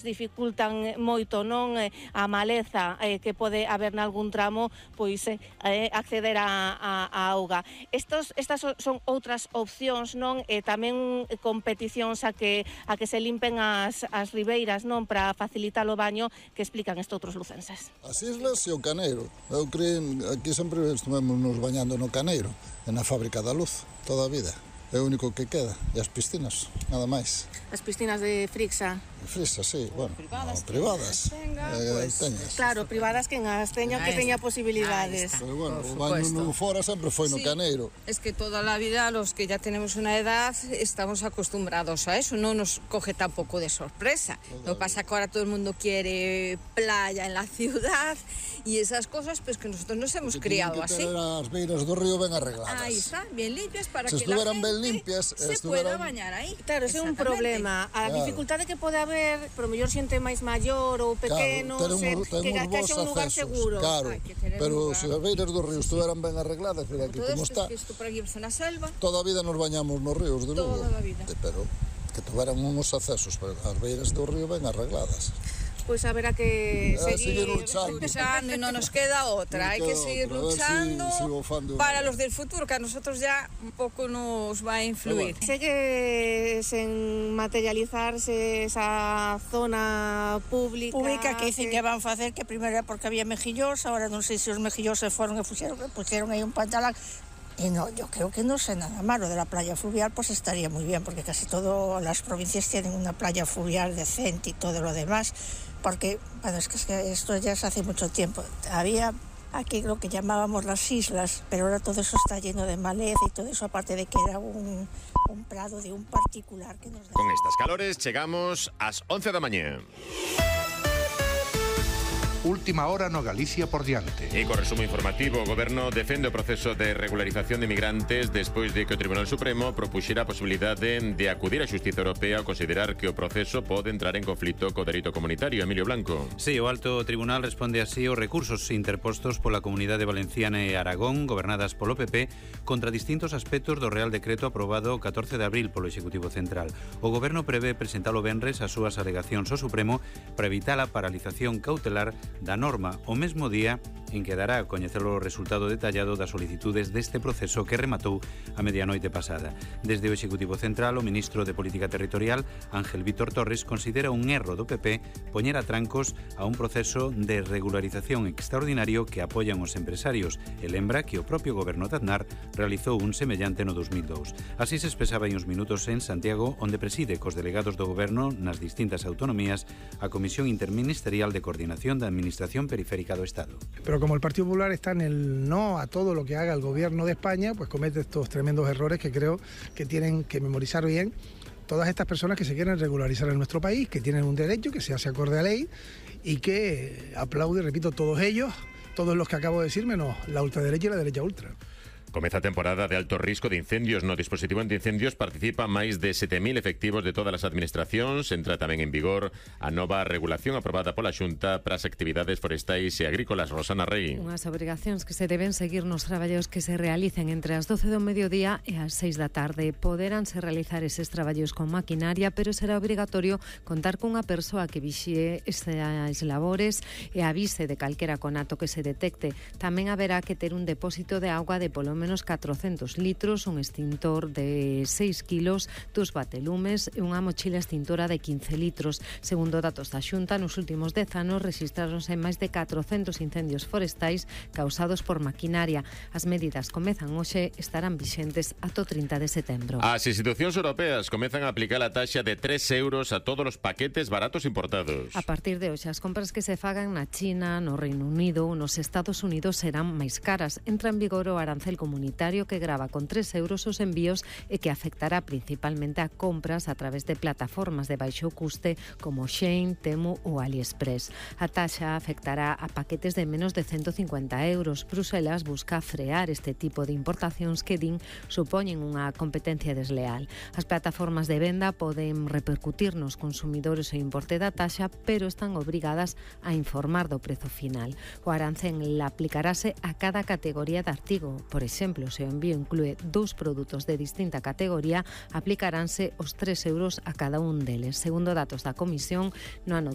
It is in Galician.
dificultan moito, non, a maleza que pode haber nalgún tramo, pois acceder a auga. Estas son outras opcións, non, e tamén competicións a que se limpen as ribeiras, non, para facilitar o baño, que explican estes outros lucenses. As islas e o Caneiro. Eu creo aquí sempre estivemos nos bañando no Caneiro, e na Fábrica da Luz, toda a vida. É o único que queda. E as piscinas, nada máis. As piscinas de Frixa? Frixa, sí, bueno, privadas. Teñas. Claro, privadas que as teña posibilidades. Pero bueno, o baño no fora sempre foi no Caneiro. Es que toda la vida los que ya tenemos una edad estamos acostumbrados a eso, no nos coge tampoco de sorpresa. Lo que pasa que ahora todo el mundo quiere playa en la ciudad y esas cosas, pues que nosotros nos hemos criado así. As beiras do río ben arregladas. Ahí está, bien limpias para que la gente se pueda bañar ahí. Claro, ese é un problema. A dificultade que pode haber, pero mellor xente máis maior ou pequeno, que haxa un lugar seguro. Claro, pero se as beiras do río estuveran ben arregladas, mira aquí como está. Isto por aquí é unha selva. Toda a vida nos bañamos nos ríos de Lugo. Toda a vida. Pero que tuveran uns accesos, pero as beiras do río ben arregladas. Pois haberá que seguir luchando y no nos queda otra. Hay que seguir luchando para los del futuro, que a nosotros ya un poco nos va a influir. Segue sen materializarse esa zona pública que dicen que van a hacer, que primero era porque había mejillos, ahora non sei se os mejillos se fueron e pusieron aí un pantalán. Y no, yo creo que no sé nada malo de la playa fluvial, pues estaría muy bien, porque casi todas las provincias tienen una playa fluvial decente y todo lo demás, porque, bueno, es que esto ya es hace mucho tiempo. Había aquí lo que llamábamos las islas, pero ahora todo eso está lleno de maleza y todo eso, aparte de que era un prado de un particular que nos da. Con estas calores chegamos ás 11 da mañá. Última hora no Galicia por diante. E co resumo informativo, o Goberno defende o proceso de regularización de migrantes despois de que o Tribunal Supremo propuxera a posibilidade de acudir á Xustiza Europea ao considerar que o proceso pode entrar en conflito co dereito comunitario. Emilio Blanco. Sí, o Alto Tribunal responde así aos recursos interpostos pola Comunidade Valenciana e Aragón, gobernadas polo PP, contra distintos aspectos do Real Decreto aprobado o 14 de abril polo Executivo Central. O Goberno prevé presentalo venres as súas alegacións ao Supremo para evitar a paralización cautelar da norma o mesmo día en que dará a coñecer o resultado detallado das solicitudes deste proceso que rematou a medianoite pasada. Desde o Executivo Central, o ministro de Política Territorial, Ángel Vítor Torres, considera un erro do PP poñer a trancos a un proceso de regularización extraordinario que apoian os empresarios e lembra que o propio goberno de Aznar realizou un semellante no 2002. Así se expresaba en uns minutos en Santiago, onde preside cos delegados do goberno nas distintas autonomías a Comisión Interministerial de Coordinación da Administración Periférica do Estado. Pero como el Partido Popular está en el no a todo lo que haga el gobierno de España, pues comete estos tremendos errores que creo que tienen que memorizar bien todas estas personas que se quieren regularizar en nuestro país, que tienen un derecho, que se hace acorde a ley y que aplaude, repito, todos ellos, todos los que acabo de decir, menos la ultraderecha y la derecha ultra. Comeza a temporada de alto risco de incendios. No dispositivo antiincendios participan máis de 7.000 efectivos de todas as administracións. Entra tamén en vigor a nova regulación aprobada pola Xunta para as actividades forestais e agrícolas. Rosana Rey. Unhas obrigacións que se deben seguir nos traballos que se realicen entre as 12 do mediodía e as 6 da tarde. Poderánse realizar eses traballos con maquinaria, pero será obrigatorio contar cunha persoa que vixie estes labores e avise de calquera conato que se detecte. Tamén haberá que ter un depósito de auga de polo menos 400 litros, un extintor de 6 kilos, 2 batelumes e unha mochila extintora de 15 litros. Segundo datos da Xunta, nos últimos 10 anos registraronse máis de 400 incendios forestais causados por maquinaria. As medidas comezan hoxe, estarán vixentes ata o 30 de setembro. As institucións europeas comezan a aplicar a taxa de 3 euros a todos os paquetes baratos importados. A partir de hoxe, as compras que se fagan na China, no Reino Unido ou nos Estados Unidos serán máis caras. Entra en vigor o arancel comunitario que grava con 3 euros os envíos e que afectará principalmente a compras a través de plataformas de baixo custe como Shein, Temu ou AliExpress. A taxa afectará a paquetes de menos de 150 euros. Bruselas busca frear este tipo de importacións que din supoñen unha competencia desleal. As plataformas de venda poden repercutir nos consumidores o importe da taxa, pero están obrigadas a informar do prezo final. O arancel aplicarase a cada categoría de artigo. Por exemplo, se o envío inclúe 2 produtos de distinta categoría, aplicaránse os 3 euros a cada un deles. Segundo datos da Comisión, no ano